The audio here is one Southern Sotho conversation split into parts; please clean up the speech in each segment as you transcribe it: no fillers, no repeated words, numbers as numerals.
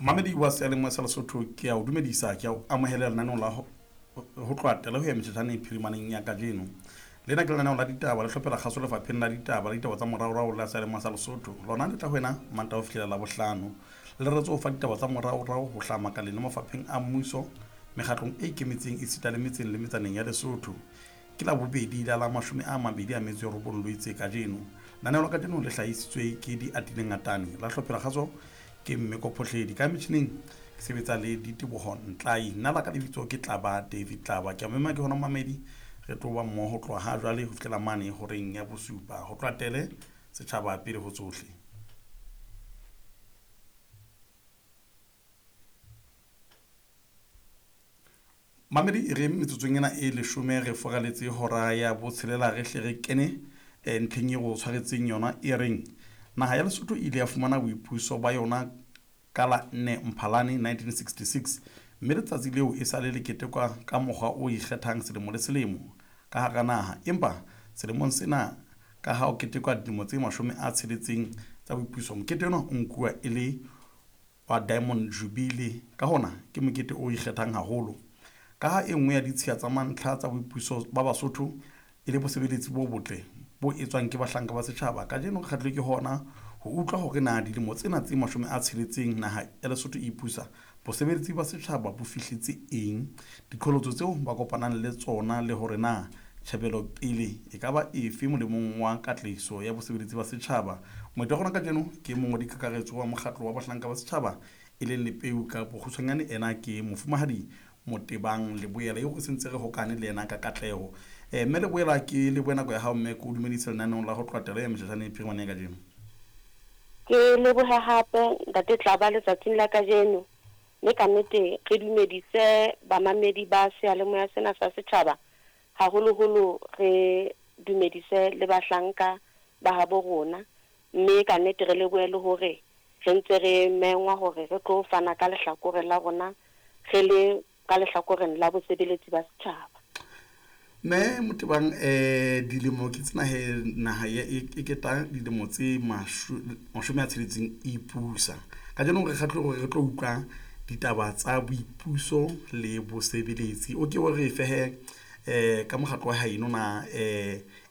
Mamedi wa seyalemoya sa Lesotho, ke a o dumedisa, ke a o amohela lenaneong la ho tloha tele ho ya metjhetjhaneng phirimaneng ya kajeno. Lena ke lenaneo la ditaba le hlophela kgaso lefapheng la ditaba le ditaba tsa moraorao la seyalemoya sa Lesotho. Lona le tla ho wena Mantaha ho fihlela Labohlano. Le reretswe ho fa ditaba tsa moraorao ho hlaha makaleng le mafapheng a mmuso, mekgatlong e ikemetseng esita le metseng le metsaneng ya Lesotho. Ke Labobedi la la 29 Loetse kajeno. Lenaneo la kajeno le hlahisitswe ke Diatile Ngatane, la hlophela kgaso ke Mme Kophohledi. Ka metjhineng ke sebetsa le Diteboho Ntlai. Nna la ka lebitso ke Tlaba David Tlaba. Ke a mema ke hona mamedi re tlo ba mmoho ho tloha ha jwale ho fihlela mane horeng ya bosupa. Ho tloha tele setjhaba pele ho tsohle. Mamedi e re metsotsong ena e leshome re foraletse hora ya botshelela re hle re kene eh, ntlheng e go tshwaretseng yona e reng naha ya Lesotho e ile ya fumana boipuso ba yona ka la 4 Mphalane 1966 mme letsatsi leo e sale le ketekwa ka mokgwa o ikgethang selemo le selemo ka hara naha. Empa selemong sena ka ha o ketekwa dilemo tse 60 tsa boipuso, mokete ona o nkuwa e le wa Diamond Jubilee. Ka hona ke mokete o ikgethang haholo. Ka ha e nngwe ya ditshiya tsa mantlha tsa boipuso ba Basotho e le bosebeletsi bo botle bo etswang ke bahlanka ba setjhaba, kajeno re kgahlilwe ke hona ho utlwa hore na dilemo tsena tse 60 naha ya Lesotho e ipusa, bosebeletsi ba setjhaba bo fihletse eng, diqholotso tseo ba kopanang le tsona le hore na tjhebelo pele e ka ba efe molemong wa katlehiso ya bosebeletsi ba setjhaba. Moeti wa rona kajeno ke mongodi kakaretso wa mokgatlo wa bahlanka ba setjhaba e leng Lepeu ka bokgutshwanyane, ena ke Mofumahadi Motebang Leboela eo re sentse re hokane le yena ka katleho. Mme Leboela, ke lebohe nako ya hao mme ke o dumedise lenaneong la ho tloha telo ya metjhetjhane e phirimane ya kajeno. Ke lebohe hape Ntate Tlaba letsatsing la kajeno, mme ka nnete re dumedise bamamedi ba seyalemoya sena sa setjhaba, haholoholo re dumedise le bahlanka ba habo rona, mme ka nnete re lebohe le hore re ntse re mengwa hore re tlo fana ka lehlakore la rona re le ka lehlakoreng la bosebeletsi ba setjhaba. Mme Motebang, dilemo ke tsena he naha ya e keta dilemo tse 60 e ipusa. Kajeno re kgahlilwe hore re tlo utlwa ditaba tsa boipuso le bosebeletsi. O ke o re fe he ka mokgatlo wa haeno na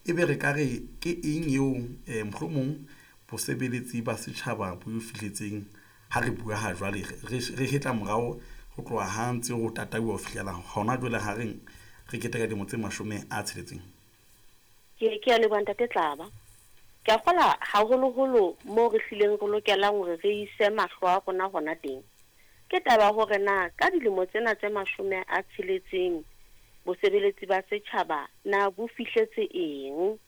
ebe re ka re ke eng eo mohlomong bosebeletsi ba setjhaba bo fihletseng ha re bua ha jwale re hetla morao ho tloha ha ntse ho tatauwa ho fihlela hona jwale ha reng re keteka dilemo tse 60. Ke a leboha Ntate Tlaba. Ke a kgola haholoholo moo re hlileng re lokelang hore re ise mahlo a rona hona teng. Ke taba ya hore na ka dilemo tsena tse 60 bosebeletsi ba setjhaba na bo fihletse eng,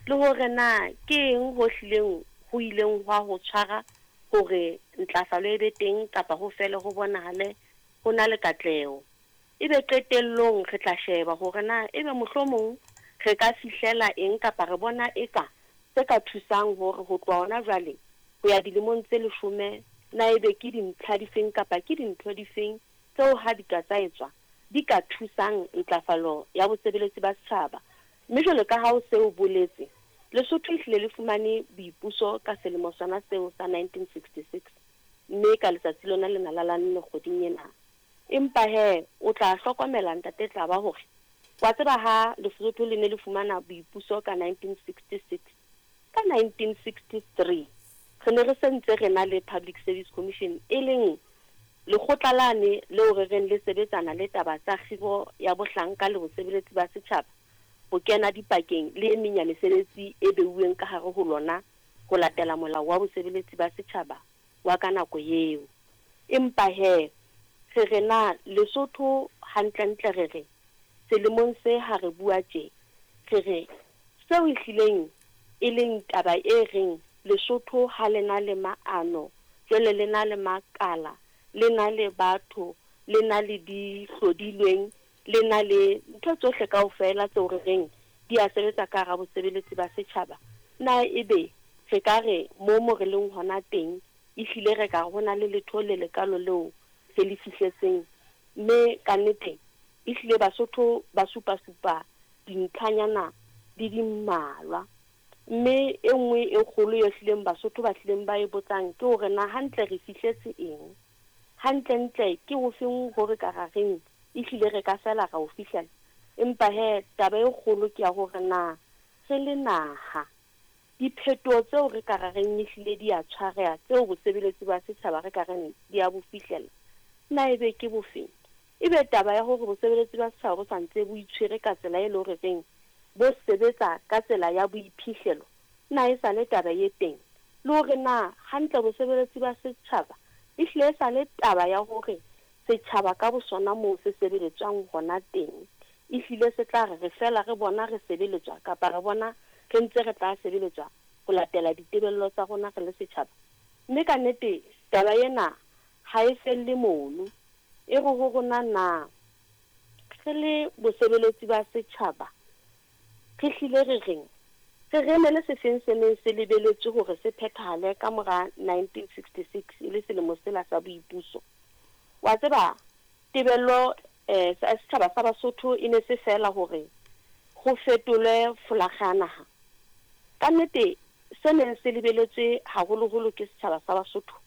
le hore na ke eng ho hlileng ho ileng hwa ho tshwara hore ntlafalo e be teng kapa ho fele ho bonahale ho na le katleho. Ebe qetellong re tla sheba hore na ebe mohlomong re ka fihlela eng kapa re bona eka se ka thusang hore ho tloha hona jwale ho ya dilemong tse leshome na ebe ke dintlha difeng kapa ke dintho difeng tseo ha di ka tsa etswa di ka thusang ntlafalo ya bosebeletsi ba setjhaba. Mme jwalo ka ha o se o boletse, Lesotho ehlile le fumane boipuso ka selemo sona seo sa 1966, mme ka letsatsi lona lena la la nne kgweding ena. Empa he, o tla hlokomela, Ntate Tlaba, hore wa tseba ha Lesotho le ne le fumana boipuso ka 1966, ka 1963 re ne re se ntse re na le Public Service Commission, e leng lekgotla lane leo re reng le sebetsana le taba tsa kgiro ya bohlanka le bosebeletsi ba setjhaba, ho kena dipakeng le e meng ya mesebetsi e beuweng ka hare ho lona ho latela molao wa bosebeletsi ba setjhaba wa ka nako eo. Empa he, re re na Lesotho hantlentle re re selemong se ha re bua tje, re re seo ehlileng e leng taba e reng Lesotho ha le na le maano, jwale le na le makala, le na le batho, le na le dihlodilweng, le na le ntho tsohle kaofela tseo re reng di a sebetsa ka hara bosebeletsi ba setjhaba, na ebe re ka re moo mo re leng hona teng ehlile re ka re ho na le letho le lekalo leo re le fihletseng? Mme kannete ehlile Basotho ba supa-supa dintlhanyana di di mmalwa. Mme e nngwe e kgolo e hlileng Basotho ba hlileng ba e botsang ke hore na hantle re fihletse eng? Hantlentle ke hofeng ho re ka ra reng ehlile re ka fela ra o fihlela? Empa he, taba e kgolo ke ya hore na re le naha, diphetoho tseo re ka ra reng ehlile di a tshwareha, tseo bosebeletsi ba setjhaba re ka reng di a bo fihlela, na ebe ke bofeng? Ebe taba ya hore bosebeletsi ba setjhaba bo sa ntse bo itshwere ka tsela e le hore reng bo sebetsa ka tsela ya boiphihlelo, na e sa le taba e teng? Le hore na hantle bosebeletsi ba setjhaba ehlile e sa le taba ya hore setjhaba ka bosona moo se sebeletswang hona teng, ehlile se tla re re fela re bona re sebeletswa kapa re bona re ntse re tla sebeletswa ho latela ditebello tsa rona re le setjhaba. Mme ka nnete taba ena ha e felle mono. E re ho rona na re le bosebeletsi ba setjhaba re hlile re reng? Re re emele sefeng se neng se lebeletswe hore se phethahale ka mora 1966 e le selemo sela sa boipuso? Wa tseba, tebello sa setjhaba sa Basotho e ne se feela hore ho fetolwe folakga ya naha. Ka nnete se neng se lebeletswe haholoholo ke setjhaba sa Basotho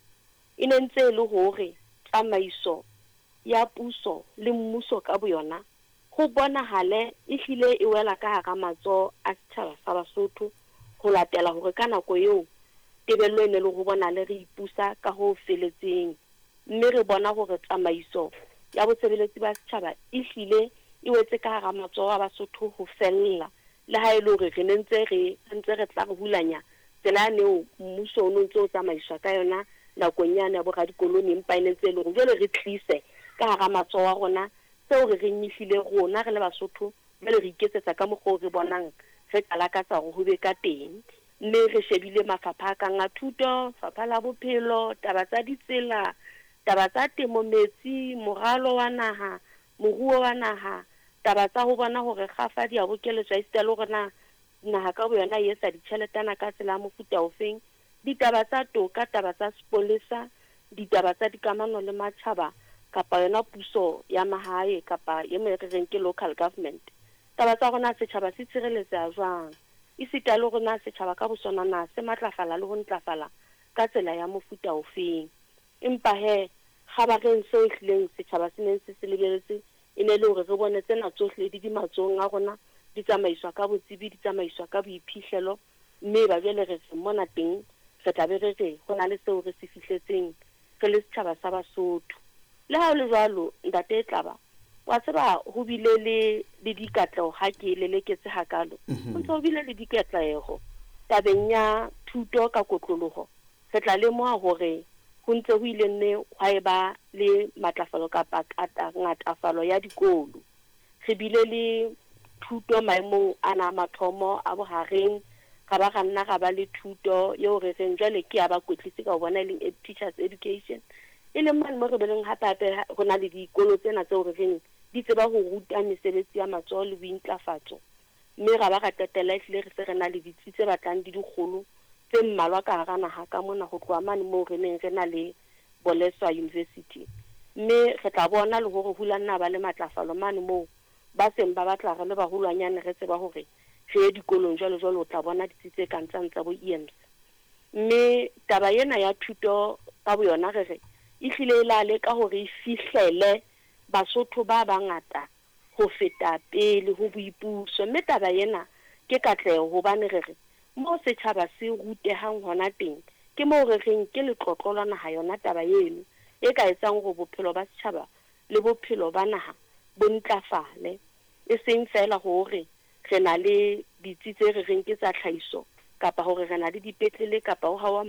e ne ntse e le hore tsamaiso ya puso le mmuso ka boyona ho bonahale e hlile e wela ka hara matsoho a setjhaba sa Basotho ho latela hore ka nako eo tebello e ne le ho bonahale re ipusa ka ho feletseng mme re bona hore tsamaiso ya bosebeletsi ba setjhaba e hlile e wetse ka hara matsoho a Basotho ho fella, le ha e le hore re ne ntse re ntse re tla re hulanya tsela yane eo mmuso o no ntse o tsamaiswa ka yona nakong yane ya boradikoloni, empa e ne ntse e le hore jwale re tlise ka hara matsoho a rona seo re reng ehlile rona re le Basotho jwale re iketsetsa ka mokgwa oo re bonang re ka lakatsa hore ho be ka teng. Mme re shebile mafapha a kang a thuto, fapha la bophelo, taba tsa ditsela, taba tsa temo, metsi, moralo wa naha, moruo wa naha, taba tsa ho bona hore kgafa di a bokeletswa esita le hore na naha ka boyona e etsa ditjheletana ka tsela ya mofuta ofeng, ditaba tsa toka, taba tsa sepolesa, ditaba tsa dikamano le matjhaba kapa yona puso ya mahae kapa e mo re reng ke local government. Taba tsa hore na setjhaba se tshireletseha jwang, esita le hore na setjhaba ka bosona na se matlafala le ho ntlafala ka tsela ya mofuta ofeng. Empa he, kgabareng seo ehlileng setjhaba se neng se se lebeletse e ne le hore re bone tsena tsohle di di matsohong a rona, di tsamaiswa ka botsebi, di tsamaiswa ka boiphihlelo, mme ba jwale re re mona teng re tla be re re ho na le seo re se fihletseng re le setjhaba sa Basotho. Le ha ho le jwalo, ntate Tlaba, wa tseba ho bile le le dikatleho ha ke leleketse hakalo. Ho ntse ho bile le dikatleho tabeng ya thuto ka kotloloho. Re tla lemoha hore ho ntse ho ile nne hwa eba le matlafalo kapa ngatafalo ya dikolo. Re bile le thuto maemong ana a mathomo a bohareng, ra ba ra nna ra ba le thuto eo re reng jwale ke ya bakwetlisi ka ho bona e leng teachers education, e leng mane mo re beleng hape hape ho na le dikolo tsena tseo re reng di tseba ho ruta mesebetsi ya matsoho le bointlafatso, mme ra ba ra qetella ehlile re se re na le ditsi tse batlang di dikgolo tse mmalwa ka hara naha ka mona ho tloha mane moo re neng re na le Boleswa University. Mme re tla bona le hore hula nna ba le matlafalo mane moo ba seng ba batla re le baholwanyane re tseba hore re ye dikolong jwalo jwalo, o tla bona ditsi tse kang tsane tsa bo EMS. Mme taba ena ya thuto ka boyona re re ehlile e la leka hore e fihlele Basotho ba bangata ho feta pele ho boipuso. Mme taba ena ke katleho hobane re re moo setjhaba se rutehang hona teng ke moo re reng ke letlotlo la naha yona taba eno e ka etsang hore bophelo ba setjhaba le bophelo ba naha bo ntlafale, e seng feela hore re na le ditsi tse re reng ke tsa tlhahiso kapa hore re na le dipetlele kapa ho hawa